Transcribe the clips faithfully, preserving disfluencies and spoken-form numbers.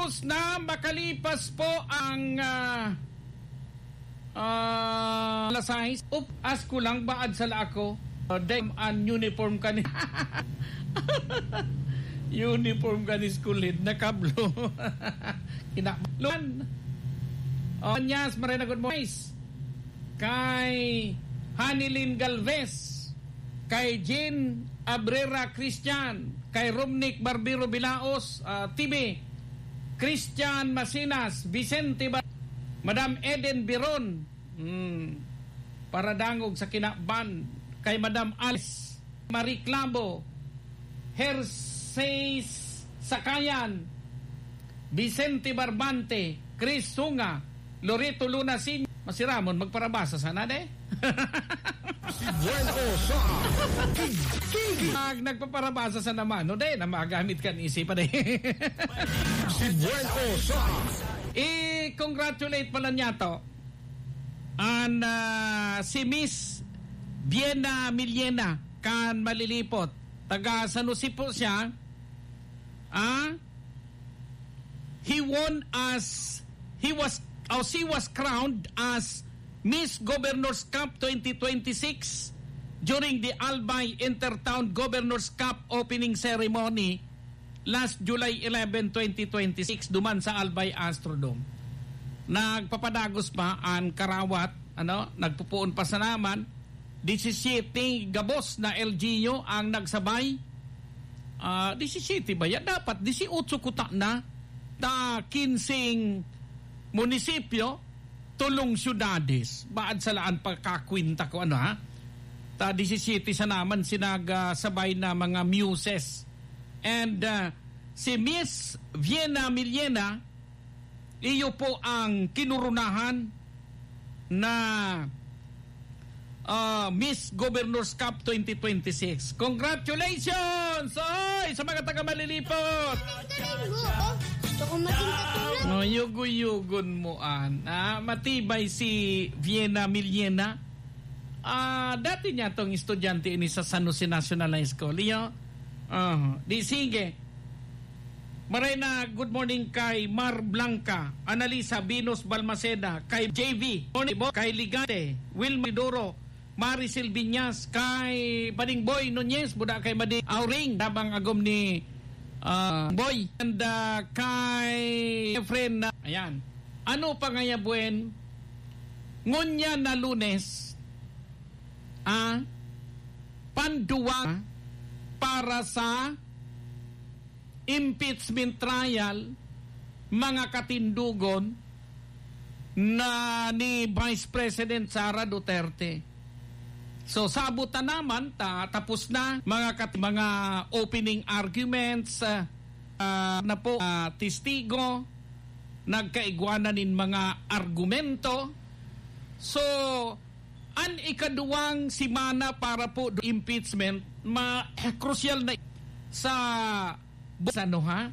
Tapos na makalipas po ang, ah, ah, alas sais. Up, asko lang, baad sala ako. Ah, dem an uniform kani. Uniform kani school head, nakablo. Kinabahan. Oh, Anyas, Marina, good morning. Kay Hanilin Galvez, kay Jean Abrera Christian, kay Romnick Barbero Bilaos, ah, T V, Christian Masinas, Vicente Ba-, Madam Eden Biron, hmm, paradangog sa kinaban, kay Madam Alice Marie Clavo, Herseis Sakayan, Vicente Barbante, Chris Sunga, Loreto Luna Senior, masiramon, magparabasa sana, de? Si Bueno sa Kig-, Kig-. Pag nagpaparabasa sa naman, no, de, na magamit kan isipan, de. Si Bueno sa I-congratulate pala niya to. An, ah, si Miss Vienna Millena kan Malilipot. Taga San Jose po siya. Ah, he won as, he was, or she was crowned as Miss Governor's Cup twenty twenty-six during the Albay Intertown Governor's Cup opening ceremony last July eleven, twenty twenty-six, duman sa Albay Astrodome. Nagpapadagos pa an karawat, ano, nagpupuon pa sana man, disisiyete gabos na L G U ang nagsabay. Ah, disisiyete ba yan? Dapat disiotso kuta na. Ta kinseng munisipyo, tolong syudades. Baad sa laan pagkakwenta ko, ano, ha? Ta disisiyete sana man sinagsabay na mga muses. And, ah, si Miss Vienna Millena, iyo po ang kinurunahan na, ah, Miss Governor's Cup twenty twenty-six. Congratulations! Oy, sa mga taga Malilipot! Galing mo, oh. Gusto ko maging katulad. Oh, yugo-yugon mo, an. Ah, matibay si Vienna Millena. Ah, dati niya tong estudyante ini sa San Jose National High School. Iyo? Ah, di sige. Maray na good morning kay Mar Blanca, Analisa, Venus Balmaceda, kay J V, Tony Bo-, kay Ligante, Wilma Doro, Maricel Viñas, kay Bading Boy Nunez, buda kay Bading Auring, tabang agom ni, ah, Boy, and, ah, kay friend na, ayan. Ano pa ngaya buen? Ngunyan na Lunes, ah, panduwa para sa impeachment trial, mga katindogon na ni Vice President Sara Duterte. So, sabot ta naman, ta-, tapos na mga kat-, mga opening arguments, ah, ah, na po, ah, testigo, nagkaigwanan nin mga argumento. So, an ikaduwang semana para po do impeachment, ma-, krusyal na sa, sa ano, ha?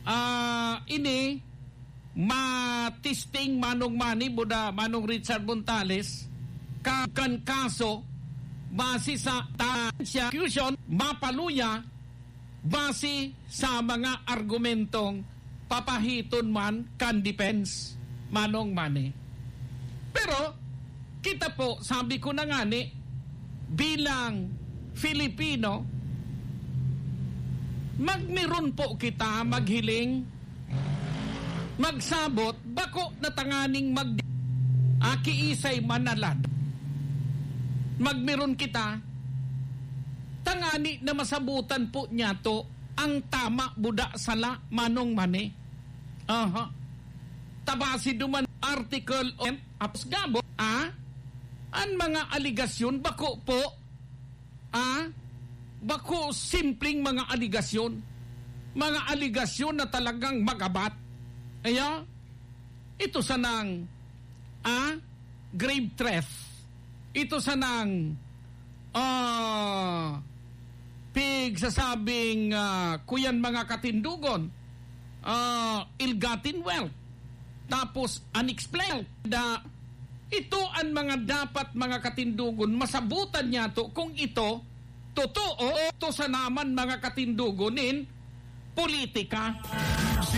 Ah, ini, matisting Manong Manny, buda Manong Richard Montales, ka-, kan kaso, base sa ta-, prosecution, mapaluya, base sa mga argumentong papahiton man kan defense, Manong Manny. Pero, kita po, sabi ko na ngani, bilang Filipino, magmeron po kita maghiling, magsabot, bako na tanganing mag-, akiisay manalad. Magmeron kita, tangani na masabutan po niya to ang tama, buda, sala, Manong Manny. Aha. Tabasi duman Article of Apos Gabo, ah? An mga aligasyon, bako po, ah? Bako simpleng mga aligasyon. Mga aligasyon na talagang magabat. Aya, ito sanang, ah? Grave threat. Ito sanang, ah, pigsasabing, ah, kuyan mga katindogon, ah, ill-gotten wealth, tapos unexplained. Da, ito an mga dapat mga katindogon, masabutan niya to kung ito totoo o ito sanaman mga katindogon nin politika.